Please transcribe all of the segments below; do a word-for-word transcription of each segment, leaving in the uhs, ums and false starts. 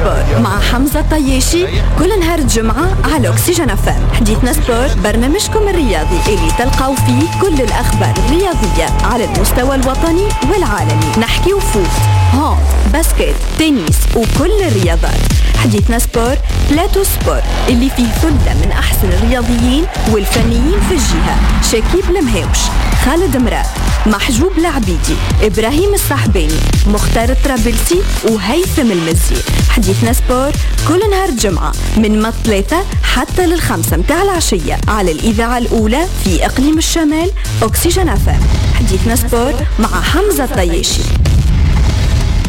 sport مع حمزة الطياشي كل نهار جمعة على أكسجين أف أم. حديثنا sport برنامجكم الرياضي اللي تلقاو فيه كل الأخبار الرياضية على المستوى الوطني والعالمي. نحكيو foot، hand، basket، tennis وكل الرياضات. حديثنا sport، plateau sport اللي فيه ثلة من أحسن الرياضيين والفنيين في الجهة: شكيب المهاوش، خالد مراد، محجوب العبيدي، إبراهيم الصحباني، مختار الطرابلسي وهيثم المزي. حديثنا sport كل نهار جمعة من ما ثلاثة حتى للخمسة متاع العشية على الإذاعة الأولى في إقليم الشمال، أكسجين أف أم. حديثنا sport مع حمزة الطياشي.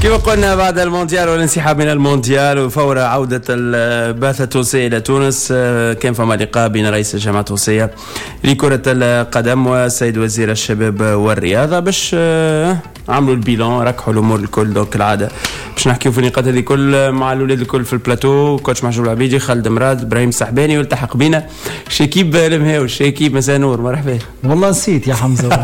كما قلنا، بعد المونديال والانسحاب من المونديال وفور عودة البعثة التونسية إلى تونس، آه، كان فما لقاء بين رئيس الجامعة التونسية لكرة القدم والسيد وزير الشباب والرياضة باش آه، عملوا ال bilan، ركحوا الامور الكل. donc العادة باش نحكيو في النقاط هذه الكل مع الاولاد الكل في ال plateau: coach محجوب العبيدي، خالد مراد، ابراهيم السحباني، والتحق بنا شكيب المهاوش. شكيب، مساء نور، مرحبا. والله نسيت يا حمزه،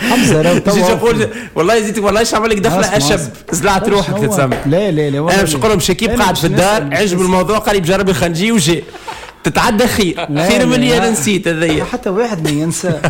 حمزة راهو جيت نقول والله زيت، والله ايش عمل لك دخله اشب، زلعت روحك تتسمى. لا لا لا. انا باش نقول لهم شكيب قاعد في الدار، عجب الموضوع، قال لي بجرب الخنجي وجي تتعدى خير خير من اللي انا نسيت هذيا. حتى واحد ما ينسى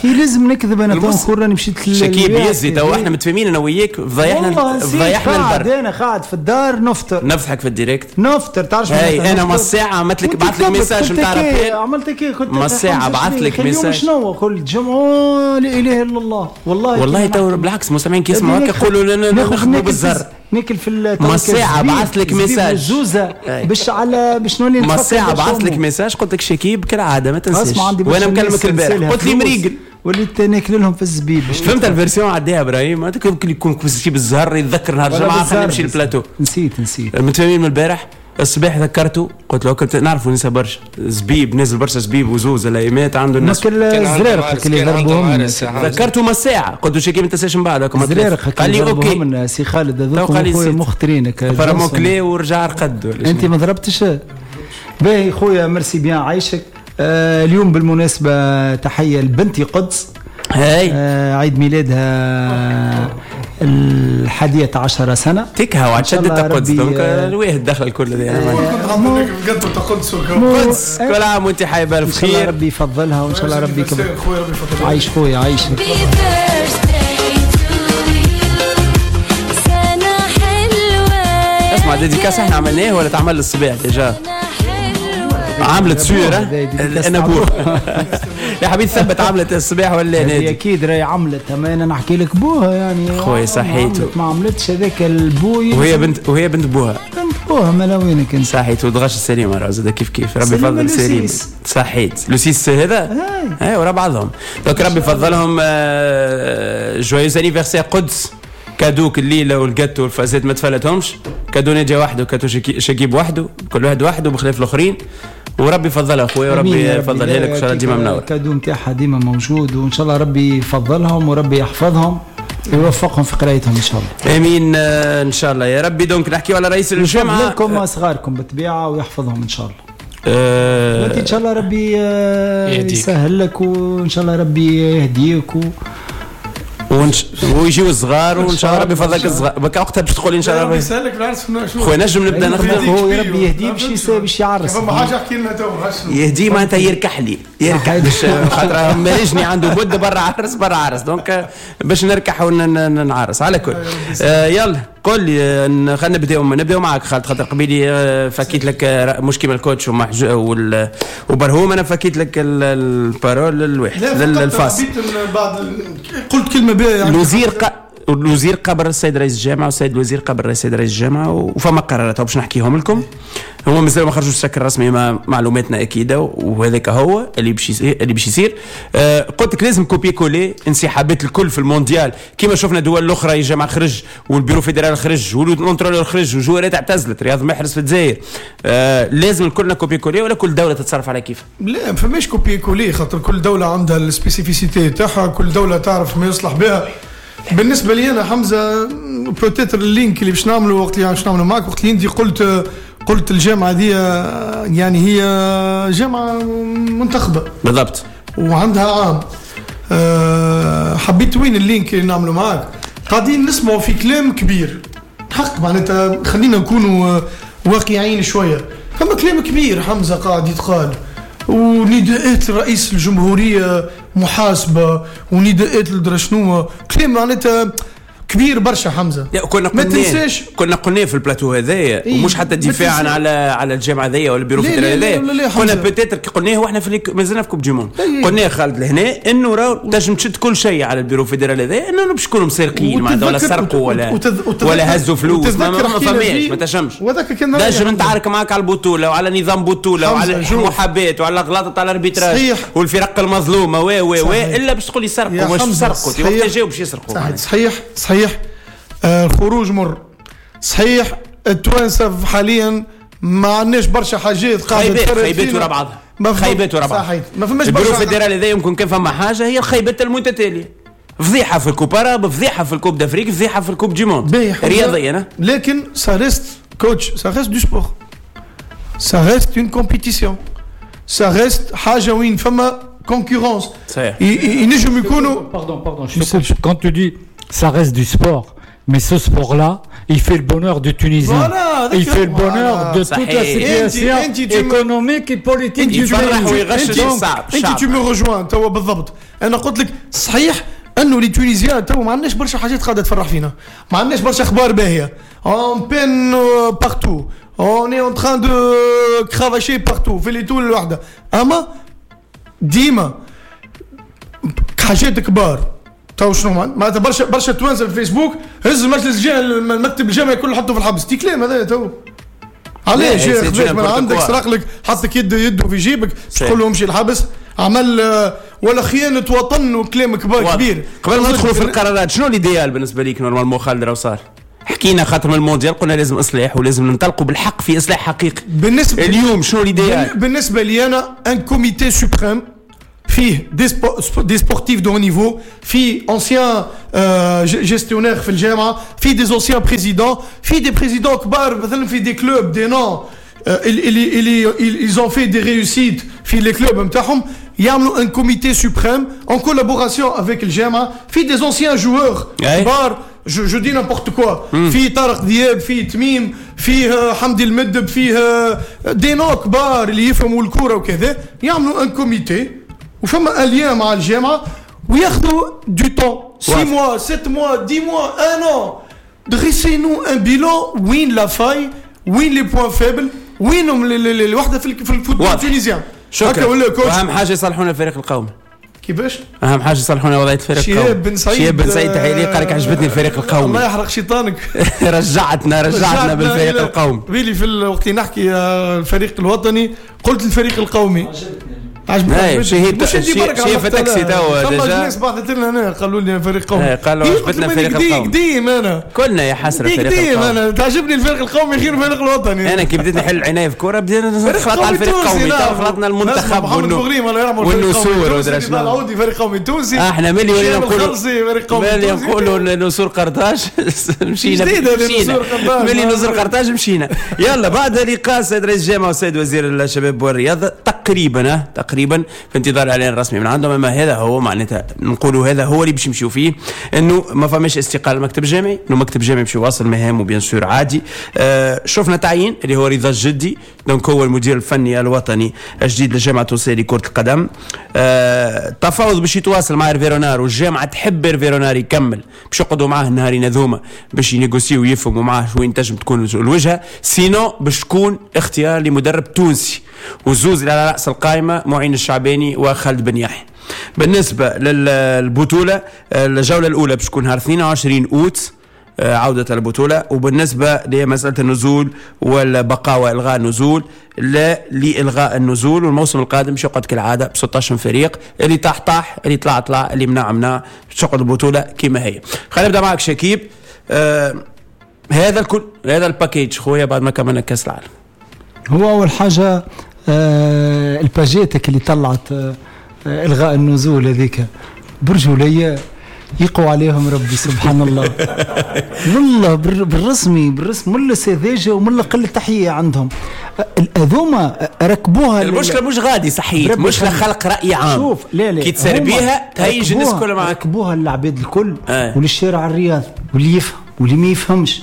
خي، لازم نكذب انا تو نقول راني مشيت. شكيب يزي، تو احنا متفاهمين انا وياك، فضيحنا فضيحنا البر. انا قاعد في الدار نفطر. نفضحك في ال direct. نفطر، تعرف. اي انا ما ساعة عملت لك، بعث لك message نتاع rappel. عملت كي كنت ما ساعة بعث لك message. شنو قلت؟ جمعه، لا اله الا الله والله. والله تو بالعكس، المستمعين كي يسمعوا هكا يقولوا لنا نخدموا بالزر. ناكل في ما ساعة بعث لك message. زوزه باش على باش نولي. ما ساعة بعث لك message، قلت لك شكيب كالعادة ما تنساش، وانا مكلمك البارح قلت لي مريقل. وليت ناكل لهم في الزبيب. فهمت ال version عديها ابراهيم، يمكن يكون شي بالزهر يتذكر نهار الجمعة خلينا نمشي للبلاتو. نسيت نسيت. متفاهمين من البارح الصباح، ذكرته قلت له كنت نعرفوا ننسى برشا زبيب، نزل برشا زبيب وزوز الايامات عنده الناس. كل الزرارق اللي ضربوهم. ذكرته ما ساعة، قلت له شكيب ما تنساش من بعد. الزرارق قال لي OK. سي خالد، هذوك خويا مخترينك. فرمو كلي ورجع رقد. انت ما ضربتش؟ باهي خويا، merci bien، عايشك. آه اليوم بالمناسبة تحية لبنتي قدس. هاي آه عيد ميلادها الحادية عشر سنة. تكها وعاد قدس، donc الواحد دخل الكل. قدس قدس، كل عام وانت حي بالف خير. ربي يفضلها وان شاء الله ربي يكبر. عايش خويا، عايشك. اسمع، dédicace احنا عملناه ولا تعمل الصباح؟ déjà عملت sûr انا بور يا حبيبي، ثبت عملت الصباح ولا نادي؟ اكيد راهي عملت، اما انا نحكي لك بوها يعني. خويا صحيت. ما عملتش هذاك البوي. وهي بنت وهي بنت بوها. بنت بوها، ما وينك انت. صحيت، ودغش السليمة راه زاد كيف كيف، ربي يفضل سليم. صحيت، le six هذا اي ورا بعضهم، donc ربي يفضلهم. joyeux anniversaire قدس. cadeau ك الليلة والجاتو والفازات ما تفلتهمش. cadeau ناجي وحده، cadeau شكيب وحده، كل واحد وحده بخلاف الاخرين. وربي يفضلها اخويا، وربي يفضلها لك، وان شاء الله ديما منور. ال cadeau نتاعها ديما موجود، وان شاء الله ربي يفضلهم وربي يحفظهم ويوفقهم في قرايتهم ان شاء الله. امين، ان شاء الله يا ربي. donc نحكيو على رئيس الجامعه. لكم صغاركم بالطبيعة ويحفظهم ان شاء الله. أه وانت ان شاء الله ربي يسهل لك، وان شاء الله ربي يهديك و... ونش... ويجيو الصغار، وان شاء الله ربي يفضلك الصغار. بك وقتها باش تقول ان شاء الله ربي يسهلك العرس. خويا نجم نبدا نخدم. هو ربي يهديه باش باش يعرس. فما حاجة احكي لنا تو. يهديه معناتها يركح لي، يركح باش خاطر مالجني عنده مده برا عرس برا عرس، donc باش نركح ونعرس على كل. آه يلا قول لي، خلينا نبداو نبداو معك خالد، خاطر قبيلي فكيت لك مش كيما ال coach ومحج وال وبرهوم، انا فكيت لك ال parole الواحد للفاصل. بعد قلت كلمة بها يعني. الوزير ق... الوزير قبل السيد رئيس الجامعة والسيد الوزير قبل السيد رئيس الجامعه، وفما قرارات باش نحكيهم لكم. هما مازالوا ما خرجوش بشكل رسمي، ما معلوماتنا اكيدة وهذاك هو اللي باش اللي باش يصير. آه قلت لك لازم copier-coller انسحابات الكل في المونديال كما شفنا دول الاخرى، الجامعة خرج وال bureau fédéral خرج وال entraîneur خرج وجوارات اعتزلت، رياض محرز في الجزائر. آه لازم الكلنا copier-coller ولا كل دولة تتصرف على كيف؟ لا، ما فماش copier-coller، خاطر كل دولة عندها ال spécificité تاعها، كل دولة تعرف ما يصلح بها. بالنسبة لي انا حمزة، peut-être ال link اللي باش نعمله وقت اللي باش نعمله معك، وقت اللي انت قلت قلت الجامعة دي يعني هي جامعه منتخبه بالضبط وعندها عام. أه حبيت وين ال link اللي نعمله معك، قاعدين نسمعوا في كلام كبير. حق معناتها خلينا نكونوا واقعيين شوية. فما كلام كبير حمزة قاعد يتقال، ونداءات رئيس الجمهورية محاسبه، ونداءات لدرا شنو، كلام معناتها كبير برشا حمزة. كنا ما تنساش كنا قلنا في البلاتو هذايا إيه؟ ومش حتى دفاعا على على الجامعة هذيا ولا ال bureau fédéral هذايا، كنا peut-être قلناه واحنا في مازلنا في Coupe du Monde، قلناه خالد لهنا انه راه تنجم تشد كل شيء على ال bureau fédéral هذايا، انه باش يكونوا مسرقين معناتها ولا سرقوا ولا وتذ... ولا هزوا فلوس، ما, ما فماش، ما تنجمش. نجم نتعارك معاك على البطولة وعلى نظام بطوله وعلى المحاباه وعلى غلطه على ال arbitrage والفرق المظلومة و و و الا باش تقول لي سرقوا مش سرقوا، وقت جاوا باش يسرقوا. صحيح صحيح، الخروج مر. صحيح التوانسة حاليا ما عندناش برشا حاجات قاعدة خيبات ورا بعضها، خيبات ورا بعضها. صحيح ما فماش برشا. ال bureau fédéral هذا يمكن كان فما حاجة هي الخيبات المتتالية، فضيحة في ال Coupe arabe، فضيحة في ال Coupe d'Afrique، فضيحة في ال Coupe du Monde رياضيا. لكن ça reste coach، ça reste du sport، ça reste une compétition، ça reste حاجة وين فما concurrence. صحيح ينجم يكونوا pardon pardon quand tu dis ça reste du sport, mais ce sport-là, il fait le bonheur du Tunisien. Voilà, il fait le bonheur voilà. de toute la situation économique et politique du pays. انت tu me rejoins توا بالضبط. انا قلت لك صحيح انه les Tunisiens توا ما عندناش برشا حاجات قاعدة تفرح فينا، ما عندناش برشا اخبار باهيه. on peine partout, on est en train de cravacher partout في les طول الوحدة. اما ديما حاجات كبار تو شنو معناتها برشا برشا توانسة في الفيسبوك هز المجلس الجامعي المكتب الجامعي كله حطه في الحبس. تي كلام هذا تو علاش يا خذيت من عندك سرق لك حطك يده يده في جيبك تقول له امشي الحبس، عمل ولا خيانة وطن وكلام كبار كبير. قبل ما ندخلوا في القرارات شنو l'idéal بالنسبة ليك normalement خالد راهو صار؟ حكينا خاطر من المونديال قلنا لازم اصلاح ولازم ننطلقوا بالحق في اصلاح حقيقي. بالنسبة اليوم شنو l'idéal؟ بالنسبة لي انا un comité suprême فيه des sportifs de haut niveau، فيه anciens gestionnaires في الجامعة، فيه des anciens présidents، فيه des présidents كبار مثلا في des clubs des noms اللي اللي ils ont fait des réussites في les clubs نتاعهم، يعملوا un comité suprême en collaboration avec الجامعة، فيه des anciens joueurs كبار، je je dis n'importe quoi، فيه طارق دياب، فيه تميم، فيه حمدي المدب، فيه des noms كبار اللي يفهموا الكورة وكذا، يعملوا un comité وفما un lien مع الجامعة وياخذوا du temps six mois sept mois dix mois un an dressez-nous un bilan وين la faille، وين les points faibles، وينهم الوحدة في ال football tunisien. شكرا. واهم حاجة يصلحونا الفريق القومي. كيفاش؟ اهم حاجة يصلحونا وضعية الفريق القومي. شهاب بن سعيد، شهاب بن سعيد تحية ليه، قال لك عجبتني الفريق القومي. الله يحرق شيطانك. رجعتنا رجعتنا بالفريق القومي. بيلي في الوقت اللي نحكي الفريق الوطني قلت الفريق القومي. عجبتني. شهيد شهيد في تاكسي توا déjà الناس بعثت لنا هنا قالوا لي فريق قومي، قالوا عجبتنا الفريق القومي. قديم انا كلنا يا حسرة الفريق القومي، انا تعجبني الفريق القومي غير الفريق الوطني. انا كي بديت نحل العناية في الكورة بدينا نخلط على الفريق القومي، خلطنا المنتخب والنسور ودرا شنو. العودي فريق قومي تونسي. احنا ملي ولينا نقولوا ملي نقولوا نسور قرطاج مشينا، ملي نسور قرطاج مشينا. يلا بعد لقاء السيد رئيس الجامعة والسيد وزير الشباب والرياضة تقريبا تقريبا في انتظار الاعلان الرسمي من عندهم. اما هذا هو معناتها نقولوا هذا هو اللي باش يمشيو فيه، انه ما فماش استقالة المكتب الجامعي، انه المكتب الجامعي باش يواصل مهامه bien sûr عادي. آه شفنا تعيين اللي هو رضا الجدي، donc هو المدير الفني الوطني الجديد للجامعة التونسية لكرة القدم. آه التفاوض باش يتواصل مع إرفي رونار، والجامعة تحب إرفي رونار يكمل، باش يقعدوا معاه النهارين هذوما باش ينيغوسيو ويفهموا معاه وين تنجم تكون الوجهة، sinon باش تكون اختيار لمدرب تونسي. وزوز على راس القائمة معين الشعباني وخالد بن يحيى. بالنسبة للبطولة الجولة الاولى باش تكون نهار اثنين وعشرين اوت عوده البطولة. وبالنسبة لمسالة النزول والبقاء والغاء النزول، لا لالغاء النزول، والموسم القادم باش يقعد كالعادة ب ستة عشر فريق، اللي طاح طاح، اللي طلع طلع، اللي منع منع، باش تقعد البطولة كما هي. خلينا نبدا معك شكيب. آه هذا الكل هذا ال package خويا بعد ما كملنا كاس العالم. هو اول حاجة آه الباجيتك اللي طلعت آه الغاء النزول هذيك برجولية يقوى عليهم ربي سبحان الله. والله بالرسمي بالرسم ولا سذاجة ولا قلة تحية عندهم. الاذومه ركبوها. المشكلة مش غادي صحيح، مشكلة خلق راي عام. شوف لا لا كي تسربيها تهيج الناس كلها معك. ركبوها للعباد الكل آه. وللشارع الرياضي واللي يفهم واللي ما يفهمش.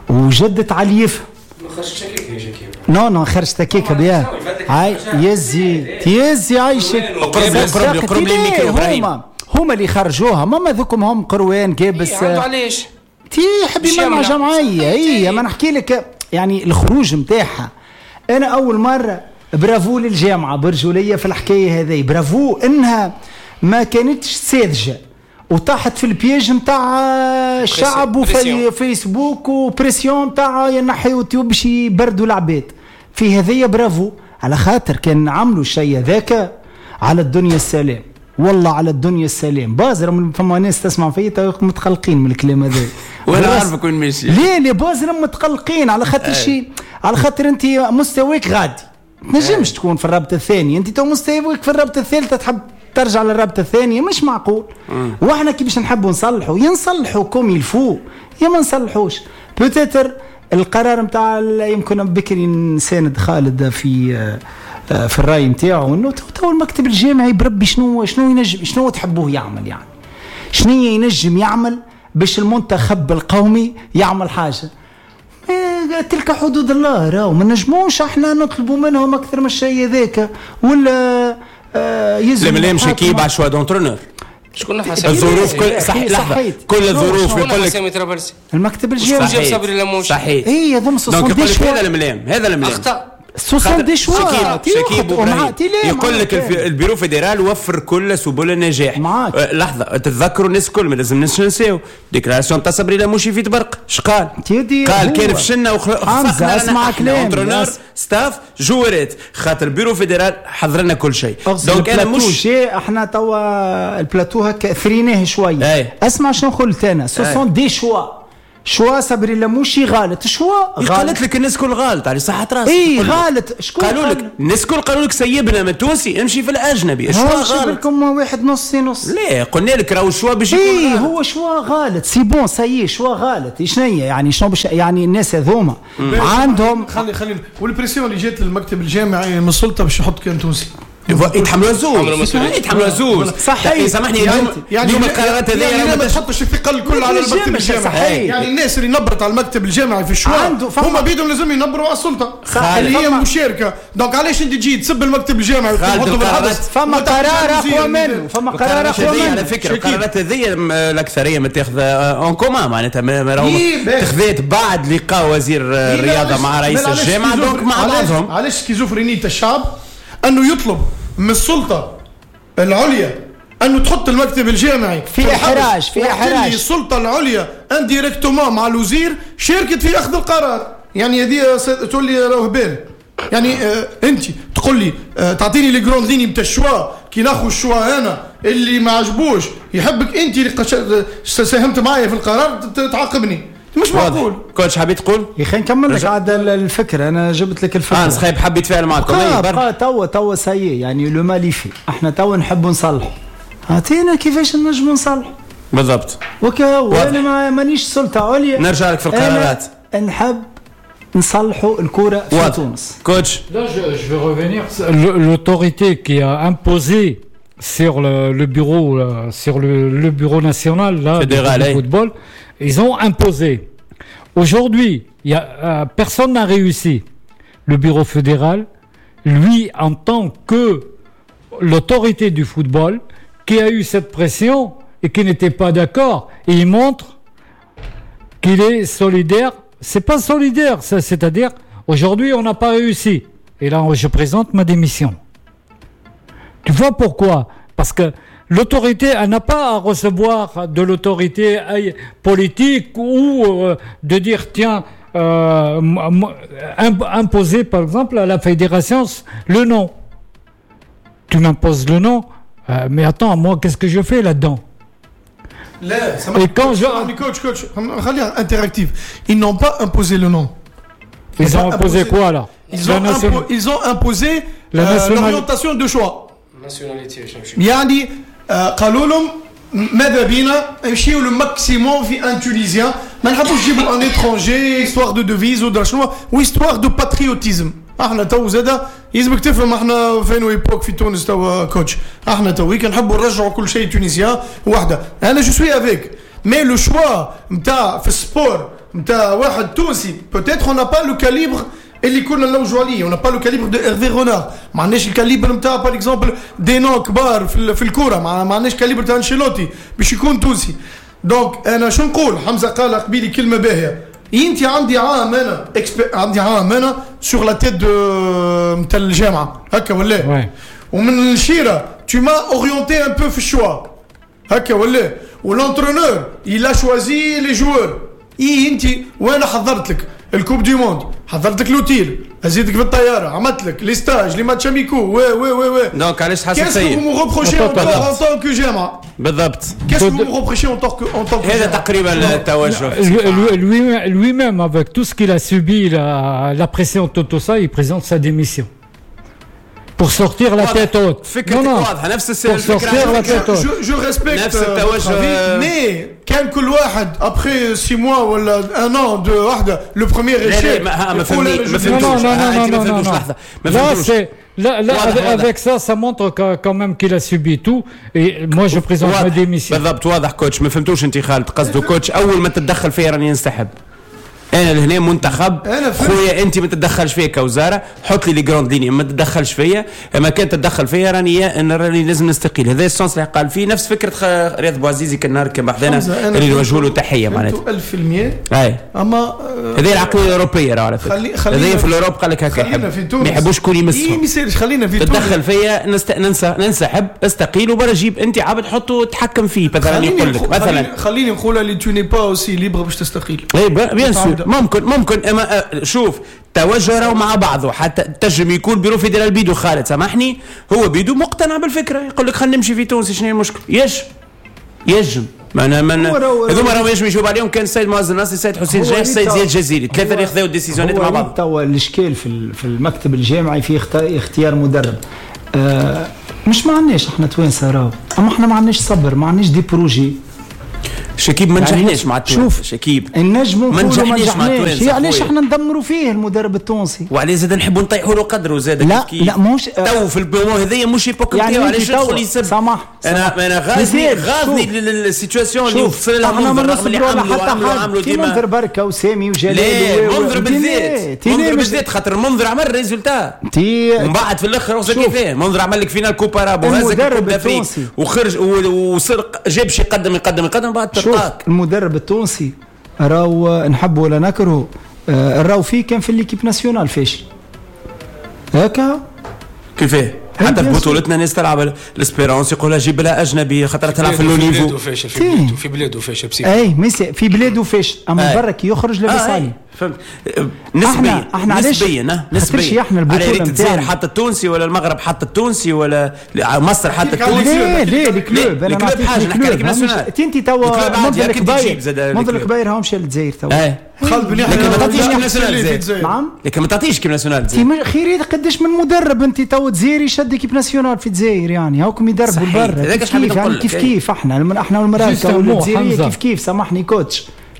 وجدت على يفهم. ما خرجتش هكاك يا شكيب. non non خرجت هكاك bien. هاي يزي يزي عايشك. قرب قرب قرب الميكرو ابراهيم. هما اللي خرجوها، ماما ذوكم هم قروان كابس. إيه علاش؟ تي حبي مع جمعية. اي ما نحكي لك يعني الخروج نتاعها. انا اول مرة برافو للجامعة برجولية في الحكاية هذه، برافو انها ما كانتش ساذجة وطاحت في ال piège نتاع الشعب وفي فيسبوك و pression نتاع ينحيوا يوتيوب باش يبردوا العباد في هذه. برافو على خاطر كان عملوا الشيء هذاك على الدنيا السلام، والله على الدنيا السلام. بازر فما ناس تسمع فيا متقلقين من الكلام هذا. وانا عارفك وين ماشي. ليه ليه بازر متقلقين على خاطر شيء، على خاطر انت مستواك غادي تنجمش تكون في الرابطة الثانية، انت تو مستواك في الرابطة الثالثة تحب ترجع للرابطة الثانية، مش معقول. واحنا كي باش نحبوا نصلحوا ينصلحوا comme il faut يا ما نصلحوش. peut-être القرار نتاع يمكن بكري نساند خالد في في الراي نتاعو انه تو المكتب الجامعي بربي شنو شنو ينجم، شنو تحبوه يعمل، يعني شنو ينجم يعمل باش المنتخب القومي يعمل حاجة. تلك حدود الله، راهو ما نجموش احنا نطلبوا منهم اكثر من الشيء هذاك ولا آه يزم. لا شكيب على choix d'entraîneur شكون حسب الظروف كل صح لحظة كل الظروف يقول لك المكتب الجامعي جاب صبري لموش صحيح. اي هذوما donc هذا الملام هذا الملام اخطا soixante-dix choix. شكيب يقول لك ال bureau fédéral وفر كل سبل النجاح. معاك. لحظة تتذكروا الناس الكل ما لازمناش ننساو déclaration تاع صبري لموشي في تبرق اش قال؟ قال كان فشلنا وخفقنا اسمع كلام entraîneur staff جوارات خاطر ال bureau fédéral حضر لنا كل شيء. donc انا مش احنا توا البلاتو هكا ثريناه شوية. اسمع شنو قلت انا soixante-dix choix choix صبري لموشي غلط choix غلط. قالت لك الناس كل غلط على صحة راسك. اي غلط شكون قالوا لك الناس كل قالوا لك سيبنا من التونسي امشي في الاجنبي. choix غلط لكم واحد نص نص. لا قلنا لك راهو choix باش يكون اي هو choix غلط c'est bon ça y est choix غلط. شنو يعني شنو باش يعني الناس هذوما عندهم خلي خلي وال pression اللي جات للمكتب الجامعي من السلطة باش يحط كان تونسي يتحملوا زوز يتحملوا زوز صحيح. سامحني اليوم يعني اليوم القرارات هذه يعني ما تحطش الثقل الكل على المكتب الجامعي. يعني الناس اللي نبرت على المكتب الجامعي في ال choix هما بيدهم لازم ينبروا على السلطة اللي هي مشاركة. donc علاش انت تجي تسب المكتب الجامعي وتحطه بالحبس؟ فما قرار اقوى منه، فما قرار اقوى منه على فكرة. القرارات هذه الاكثرية متاخذه en commun معناتها تخذت بعد لقاء وزير الرياضة مع رئيس الجامعة donc مع بعضهم. علاش schizophrénie الشعب أنه يطلب من السلطة العليا أنه تحط المكتب الجامعي في إحراج في إحراج. السلطة العليا indirectement مع الوزير شاركت في أخذ القرار. يعني هذه تقول لي راهو هبال. يعني آه أنت تقول لي آه تعطيني les grandes lignes نتاع ال choix كي ناخذ ال choix أنا اللي ما عجبوش يحبك أنت اللي ساهمت معايا في القرار تعاقبني. مش معقول. coach حبيت تقول؟ يا اخي نكمل لك عاد الفكرة، انا جبت لك الفكرة. اه صحيح حبيت اتفاعل معكم. بقى توا توا ça y est يعني le mal est fait احنا توا نحبوا نصلحوا. اعطينا كيفاش نجموا نصلحوا بالضبط. وكا وانا مانيش سلطة عليا. نرجع لك في القرارات. نحب نصلحوا الكره في تونس. coach Là, je, je vais revenir. L'autorité qui a imposé sur le, le bureau, sur le, le bureau national là, fédéral, du football, ils ont imposé. Aujourd'hui, il y a, euh, personne n'a réussi. Le bureau fédéral, lui, en tant que l'autorité du football, qui a eu cette pression et qui n'était pas d'accord, et il montre qu'il est solidaire. C'est pas solidaire, ça, c'est-à-dire, aujourd'hui, on n'a pas réussi. Et là, je présente ma démission. Tu vois pourquoi ? Parce que l'autorité, elle n'a pas à recevoir de l'autorité politique ou euh, de dire, tiens, euh, imposer par exemple à la fédération le nom. Tu m'imposes le nom, euh, mais attends, moi, qu'est-ce que je fais là-dedans ? لا, et quand je... Coach, coach, interactif. Ils n'ont pas imposé le nom. Ils, ils ont imposé, imposé quoi là ? Ils ont, impo- ils ont imposé euh, l'orientation de choix. يعني قالوا لهم ماذا بينا نمشيو le maximum في un Tunisien، ما نحبوش نجيبوا un étranger histoire de devise ودرا شنو و histoire de patriotisme. احنا تو زاده يلزمك تفهم احنا فين époque في تونس تو coach، احنا تو كنحبوا نرجعوا كل شيء tunisien وحده. انا je suis avec mais le choix نتاع في ال sport نتاع واحد تونسي peut-être on n'a pas le calibre اللي كنا نلوجوا عليه، on n'a pas le calibre de Hervé Renard، ما عندناش ال calibre نتاع par exemple des noms كبار في, في الكورة، ما عندناش calibre تاع انشيلوتي باش يكون تونسي. donc انا شو نقول، حمزة قال قبيلي كلمة باهيه، انت عندي عام انا عندي عام انا sur la tête de نتاع الجامعة هكا ولا، ومن الشيره tu m'as orienté un peu في ال choix هكا ولا، و l'entraîneur il a choisi les joueurs. اي انت وانا حضرت لك ال coupe du monde، حضرت لك l'hôtel، هزيتك في الطيارة، عملت لك les stages، les matchs amicaux، و و و و donc علاش تحسب فيا؟ qu'est-ce que vous me reprochez en tant que جامعه؟ بالضبط. qu'est-ce que vous me reprochez en tant que en tant que هذا تقريبا التوجه. Lui-même avec tout ce qu'il a subi, la, la pression, tout, tout ça, il présente sa démission. Pour sortir la tête haute. فكرتك واضحة، نفس الفكرة. La tête haute. Je, je respecte euh, mais كان كل واحد après six mois ولا un an de واحدة le premier échec. ما فهمتوش. Non non non non. Là c'est là là avec ça ça montre quand même qu'il a subi tout et moi je présente ma démission. بالضبط واضح coach، ما فهمتوش انت خالد قصده coach اول ما تتدخل فيا راني ننسحب. انا لهنا منتخب خويا، انت ما تتدخلش فيا كوزارة، حط لي les grandes lignes، ما تتدخلش فيا، اما كان تتدخل فيا راني راني لازم نستقيل. هذا ال sens اللي قال فيه نفس فكرة رياض بوعزيزي كان نهار كان بحذانا اللي نوجهوا له تحية معناتها ألف بالمية. اي اما هذه العقلية الاوروبية راه على فكرة، هذه في l'Europe قال لك هكا يحب ما يحبوش شكون يمسهم. اي ما يصيرش، خلينا في تتدخل فيا نست... ننسى ننسحب استقيل وبرا جيب انت عبد حطه تحكم فيه مثلا. يقول لك مثلا خليني نقول اللي tu n'es pas aussi libre باش تستقيل. اي bien sûr ممكن ممكن اما شوف توجه راهو مع بعضه، حتى تنجم يكون bureau fédéral بيدو خالد سامحني هو بيدو مقتنع بالفكرة، يقول لك خلينا نمشي في تونس شنو هي المشكل؟ يجم يجم معناها من هذوما راهو يجم يجاوب عليهم كان السيد معز الناصري، السيد حسين جاي، السيد زياد الجزيري، ثلاثة اللي خذاو ال décision ات مع بعض. توا الاشكال في في المكتب الجامعي في اختيار مدرب آه مش ما عندناش احنا توانسة راهو، اما احنا ما عندناش صبر، ما عندناش des projets. شكيب ما نجحناش مع التوانسة. شكيب النجم ما نجحناش مع التوانسة، علاش احنا ندمروا فيه المدرب التونسي؟ وعليه زاد نحبوا نطيحوا له قدره زاد. لا لا مش تو في ال moment هذايا مش époque يعني علاش يدخل يسب. سامح انا انا غاضني غاضني ال situation اللي وصل لها منذر رغم اللي عملوا عملوا عملوا ديما منذر بركة وسامي وجلال. لا منذر بالذات، منذر بالذات خاطر منذر عمل résultat ومن بعد في الاخر وصل كيفاه منذر عمل لك finale coupe arabe وهزك coupe d'Afrique وخرج وسرق جاب شي يقدم يقدم يقدم بعد. المدرب التونسي راهو نحبه ولا نكرهه راهو فيه كان في l'équipe nationale فاشل هكا كيفاه حتى في بطولتنا ناس تلعب l'Espérance يقولها جيب لها اجنبي خاطر تلعب في le niveau. فاشل في بلاده، في بلاده فاشل بسيط. اي ميسي في بلاده فاشل، اما برا كي يخرج لاباس عليه. فهمت نسبيا احنا نسبيا نسبيا احنا البطولة الجزائر حط التونسي ولا المغرب حط التونسي ولا مصر حط التونسي. ليه ليه ال club انا نعطيك حاجة نحكي لك national. انت توا منذر الكبير منذر الكبير هاو مشى للجزائر توا خالد بن يحيى. لكن ما تعطيش équipe nationale. نعم لكن ما تعطيش équipe nationale. خير قداش من مدرب انت توا جزائري شد équipe nationale في الجزائر يعني هاكم يدربوا برا كيف يعني كيف كيف احنا احنا والمراكه والجزائريه كيف كيف. سامحني coach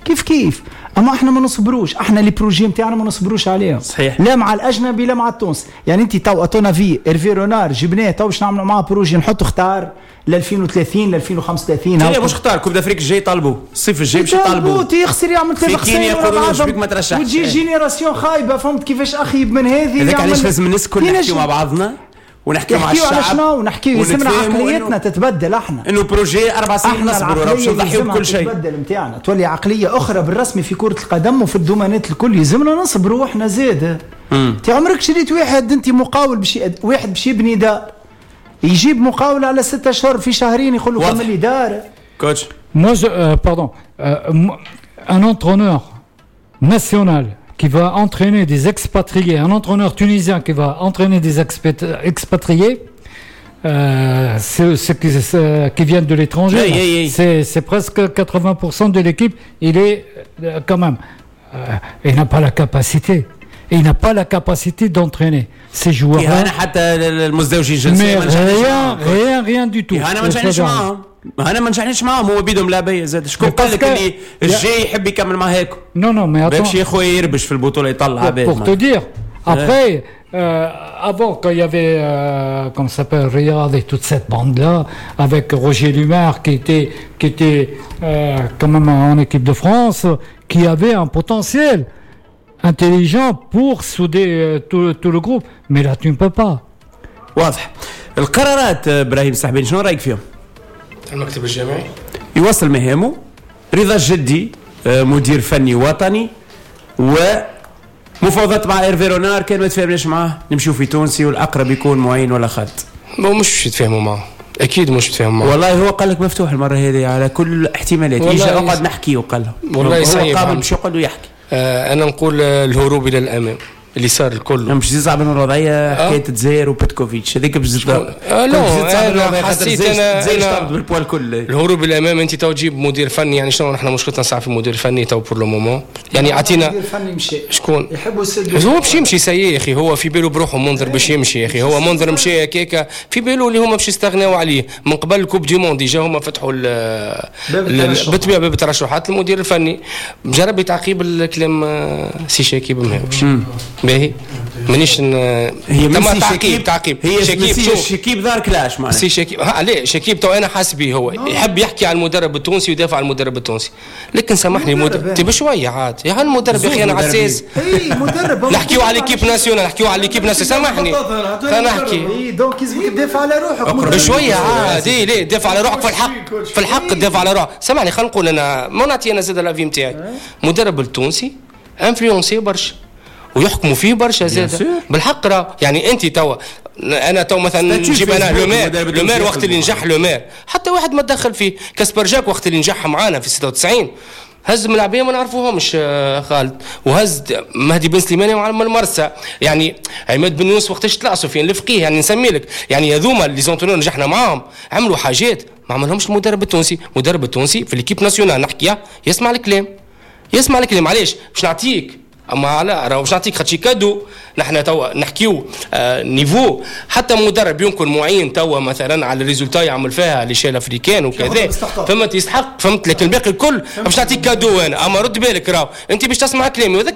كيف كيف، اما احنا ما نصبروش، احنا les projets نتاعنا ما نصبروش عليهم. صحيح. لا مع الاجنبي لا مع التونسي. يعني انت تو à ton avis ايرفي رونار جبناه تو باش نعملوا معاه projet نحطوا اختار ل ألفين وثلاثين ل ألفين وخمسة وثلاثين. لا مش اختار coupe d'Afrique الجاي طالبوه الصيف الجاي باش يطالبوه يخسر يعمل ثلاث خسائر وتجي génération خايبة. فهمت كيفاش اخيب من هذه؟ هذاك علاش لازم الناس الكل نحكيو مع بعضنا ونحكيو مع الشعب على شنو ونحكيو يلزمنا عقليتنا تتبدل. احنا انه projet اربع سنين نصبروا باش نضحيو بكل شيء تتبدل نتاعنا تولي عقلية اخرى بالرسمي في كره القدم وفي ال domaine ات الكل. يلزمنا نصبروا احنا زاد. انت عمرك شريت واحد انت مقاول باش واحد باش يبني دار يجيب مقاول على ستة اشهر في شهرين يقول له كمل لي دار. coach moi je, euh, pardon euh, un entraîneur national qui va entraîner des expatriés, un entraîneur tunisien qui va entraîner des expatriés, euh, ceux, ceux qui, ceux qui viennent de l'étranger, hey, hey, hey. C'est, c'est presque quatre-vingts pour cent de l'équipe, il est euh, quand même, euh, il n'a pas la capacité. Il n'a pas la capacité d'entraîner ces joueurs-là. Mais rien, rien, rien du tout. انا ما نجحنيش معاهم هو بيدهم لاعبيه زاد. شكون قال لك اللي الجاي يحب يكمل مع هيك؟ non non mais باش يا خويا يربش في البطولة يطلع عباد. Pour te dire après euh, avant quand il y avait euh, comment ça s'appelle Riyad et toute cette bande là avec Roger Lumar qui était qui était euh, quand même en équipe de France qui avait un potentiel intelligent pour souder euh, tout, tout le groupe. Mais là, tu ne peux pas. واضح القرارات. آه، ابراهيم السحباني، شنو رايك فيهم؟ المكتب الجامعي يوصل مهامه رضا الجدي آه، مدير فني وطني، ومفاوضات مع ايرفي رونار، كان ما تفاهمناش معاه نمشيو في تونسي، والاقرب يكون معين ولا خالد. ما مش باش يتفاهموا معه، اكيد مش يتفاهموا معه. والله هو قال لك مفتوح المرة هذه على كل الاحتمالات. والله يجي اقعد نحكي وقال له والله هو صعيب قابل عم. باش يقعد ويحكي. آه انا نقول آه، الهروب الى الامام اللي صار الكل. مش يصعب من الوضعيه، حكاية الجزائر وبيتكوفيتش هذيك بزيد. آه لا، أنا حسيت أنا- الجزائر أنا- تهبط بال poids الكل. الهروب الامام، انت تو تجيب مدير فني، يعني شنو نحن مشكلتنا ساعة في المدير الفني تو pour le moment؟ يعني اعطينا المدير الفني مشى. شكون؟ يحبوا يسدوا. هو باش يمشي ça y est يا اخي، هو في باله بروحه منذر باش يمشي يا اخي. هو منذر مشى هكاكا في باله اللي هما باش يستغناو عليه من قبل Coupe du monde. déjà هما فتحوا ال- باب ال- الترشح. بالطبيعة باب الترشحات. المدير الفني جرب تعقيب الكلام آه، سي شاكيب ماهوش باهي، مانيش ن- هي من تم سي تعقيب شكيب. تعقيب هي شكيب سي شوف. شكيب دار clash معناها. سي شكيب ها ليه شكيب تو انا حاسس به هو يحب يحكي على المدرب التونسي ويدافع على المدرب التونسي، لكن سامحني مدرب مدرب يعني. تي بشوية عاد يا المدرب يا اخي انا على اساس اي مدرب. نحكيو على l'équipe nationale، نحكيو على l'équipe nationale، سامحني خلينا نحكي. اي donc لازمك تدافع على روحك مدرب. بشوية عاد، اي ليه دافع على روحك؟ في الحق، في الحق تدافع على روحك. سامحني خلينا نقول انا ما نعطي انا زاد l'avis نتاعي، مدرب التونسي influencé برشا ويحكموا فيه برشا زاد sûr. بالحق راه يعني انت توا انا تو مثلا statut نجيب انا فيسبوك لومير المدرب لومير التونسي وقت اللي ياخذ نجح لومير حتى واحد ما تدخل فيه. كاسبر جاك وقت اللي نجح معانا في ستة وتسعين هز ملاعبيه ما نعرفوهمش آه، خالد، وهز مهدي بن سليماني مع المرسى، يعني عماد بن يونس وقتاش طلع، سفيان الفقيه، يعني نسمي لك يعني هذوما les entraîneurs نجحنا معاهم عملوا حاجات ما عملهمش المدرب التونسي. المدرب التونسي في l'équipe nationale نحكيها يسمع الكلام، يسمع الكلام. علاش؟ باش نعطيك، اما لا راهو باش نعطيك خاطر cadeau. نحن توا نحكيو آه niveau حتى مدرب يمكن معين توا مثلا على ال résultats يعمل فيها l'échelle africaine وكذا فهمت، يستحق فهمت، لكن الباقي الكل باش نعطيك cadeau انا، اما رد بالك راهو انت باش تسمع كلامي وهذاك.